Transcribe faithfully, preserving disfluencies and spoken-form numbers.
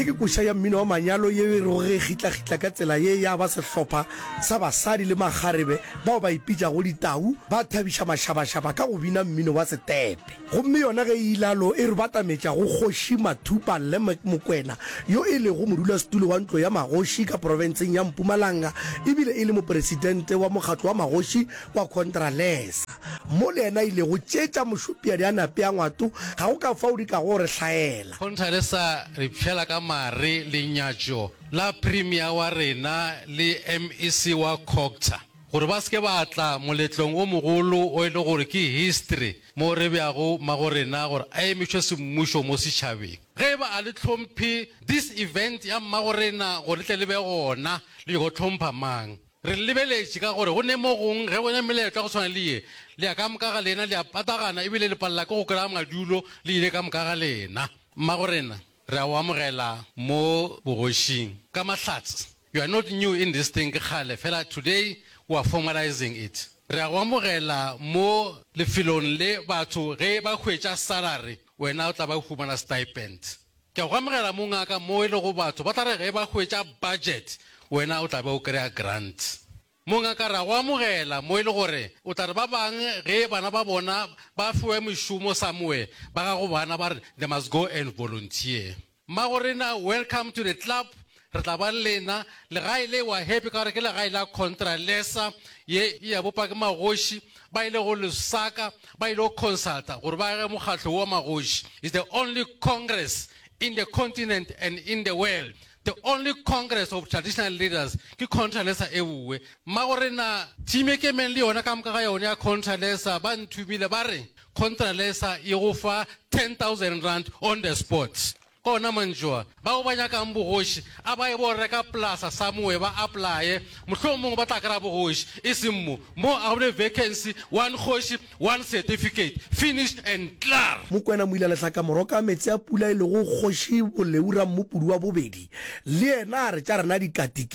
Ye ke koša ya mmino wa manyalo ye e rego ge e kgitlakgitla ka tsela ye ya ba sehlopha sa basadi le makgarebe bao ba ipitšago ditau ba thabiša mašabašaba ka go bina mmino wa setepe. Gomme yona ge e ilalo e re batametša go Kgoši Mathupa Lemek Mokwena yo e lego modulasetulo wa Ntlo ya Magoši ka profenseng ya Mpumalanga ebile e le mopresidente wa mokgatlo wa magoši wa Contralesa mo le yena a ilego tšetša mošopiadi a nape a ngwato ga go ka fao di kago re hlaela. Contralesa re pšhela ka mare lenyatšo la Premier wa rena le MEC wa Cogta gore ba se ke ba tla moletlong o mogolo o e le gore ke history mo re beago mmagorena gore a emišwe semmušo mo setšhabeng. Ge e ba a le hlomphe this event ya mmagorena gore le tle le be gona le nyako hlompha mang? Re le lebeletše ka gore go ne mo gong ge go ne meletlo ya go tshwana le ye le ya ka moka ga lena le a patagana ebile le palela ke go kry-a madulo le ile ka moka ga lena. Mmagorena re a o amogela mo bogošing ka mahlatse. You are not new in this thing ke kgale fela today we are formalizing it. Re a go amogela mo lefelong le batho ge ba hwetša salary wena o tla ba humana stipend. Ke a go amogela mo ngaka mo e lego batho ba tla re ge ba hwetša budget wena o tla be o kry-a grant. Mo ngaka re a go amogela mo e le gore o tla re ba bang ge bana ba bona ba fiwe mešomo somewhere ba gago bana ba re they must go and volunteer. Mmagorena welcome to the club re tla ba le lena legae le wa happy ka gore ke legae la Contralesa ye e ya bopa ke magoši ba ile go Lusaka ba ile go consulta gore ba age mokgatlo wa magoši. Is the only congress in the continent and in the world the only congress of traditional leaders ke Contralesa e bue. Mmagorena team e kemeng le yona ka moka ga yona ya Contralesa ba nthumile ba re Contralesa e go fa ten thousand rand on the spot. Ka ona mantšu a, bao ba nyakang bogoši a ba ye bo reka polasa somewhere ba applye, mohlomongwe ba tla kry-a bogoši, e seng mo. Mo a go be le vacancy, one kgoši, one certificate, finish and klaar. Mokwena Moila Lehlaka Moroka meetse a pula e lego Kgoši Boleu Rammopudi wa bobedi le yena a re tša rena dikatiki.